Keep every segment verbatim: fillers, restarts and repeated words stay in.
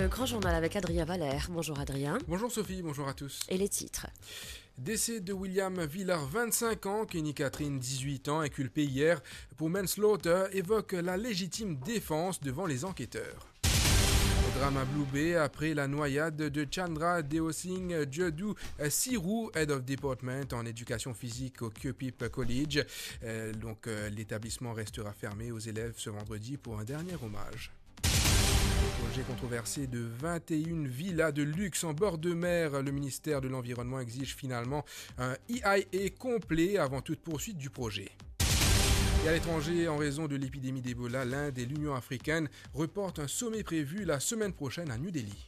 Le grand journal avec Adrien Valère. Bonjour Adrien. Bonjour Sophie, bonjour à tous. Et les titres. Décès de William Villard, vingt-cinq ans, Kenny Catherine, dix-huit ans, inculpé hier pour manslaughter, évoque la légitime défense devant les enquêteurs. Drame à Blue Bay après la noyade de Chandra Deosing Jadu, euh, Sirou, Head of Department en éducation physique au Kyopip College. Euh, donc, euh, l'établissement restera fermé aux élèves ce vendredi pour un dernier hommage. Projet controversé de vingt et une villas de luxe en bord de mer. Le ministère de l'Environnement exige finalement un E I A complet avant toute poursuite du projet. Et à l'étranger, en raison de l'épidémie d'Ebola, l'Inde et l'Union africaine reportent un sommet prévu la semaine prochaine à New Delhi.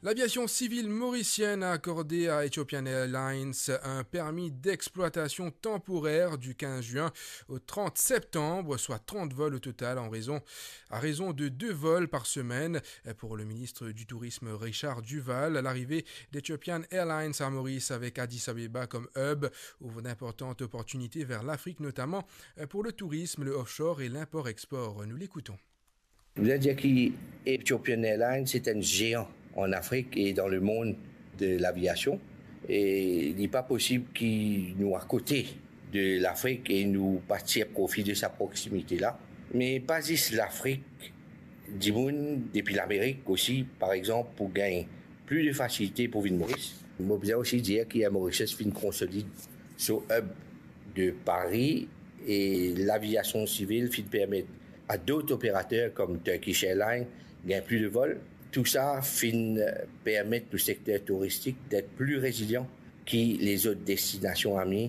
L'aviation civile mauricienne a accordé à Ethiopian Airlines un permis d'exploitation temporaire du quinze juin au trente septembre, soit trente vols au total en raison, à raison de deux vols par semaine. Pour le ministre du Tourisme Richard Duval, l'arrivée d'Ethiopian Airlines à Maurice avec Addis Abeba comme hub ouvre d'importantes opportunités vers l'Afrique, notamment pour le tourisme, le offshore et l'import-export. Nous l'écoutons. Je voudrais dire que Ethiopian Airlines, c'est un géant en Afrique et dans le monde de l'aviation. E li pa posib ki nou akote de Lafrik e nou pa tir profi de sa proximité-là. Me pa zis Lafrik, dimoun depi Lamerik osi, par exanp, pou gagn plis de fasilite pou vinn Moris. Mo bizin osi dir ki Air Mauritius finn konsolid so hub de Paris e laviasion sivil finn permet a dot operater kom Turkish Airlines gagn plis de vol. Tou sa finn permet nou sekter touristik det pli rezilian ki lezot destinasion ami